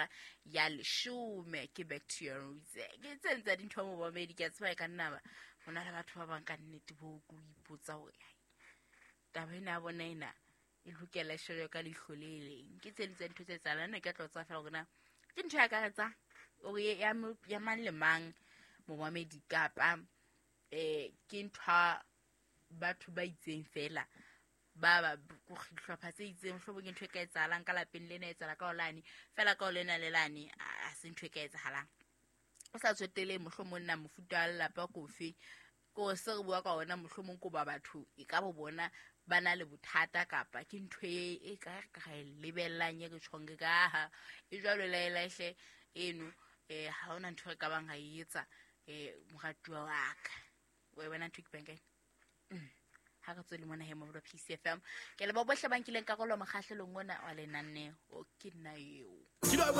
hora ya leshome. Ke back to your roots. Ke tse ntse dintho momamedi, ke a tseba e ka nna ba ho na le batho ba bang ka nnete bo ko ipotsa hore ai, taba ena ya bona ena e lokela e shejwe ka leihlo le leng. Ke tse ding tsa dintho tse etsahalang. Ne ke tlo tseba fela hore na ke ntho e akaretsang ore ya mang le mang momamedi, kapa ke ntho ya batho ba itseng fela, ba ba dihlopha tse itseng. Mohlomong ke ntho e ka etsahalang ka lapeng lena, e etsahala ka ho lane fela, ka ho lena le lane a se ntho e ka etsahalang, o sa tsotele mohlomong na mofuta wa lelapa kofe ko se re bua ka ona. Mohlomong ko ba batho e ka bo bona ba na le bothata, kapa ke ntho e ka re e lebellang, e re tjhong re ka ha e jwalo laelahle eno. Ha hona ntho re ka bang ra e etsa. Moratuwa wa ka, wa e bona ntho e ke bang ka ena. Ha re tswele mona he mo PCFM. Ke leboha bohle ba nkileng karolo mokgahlelong ona wa lenaneo. Ke nna eo.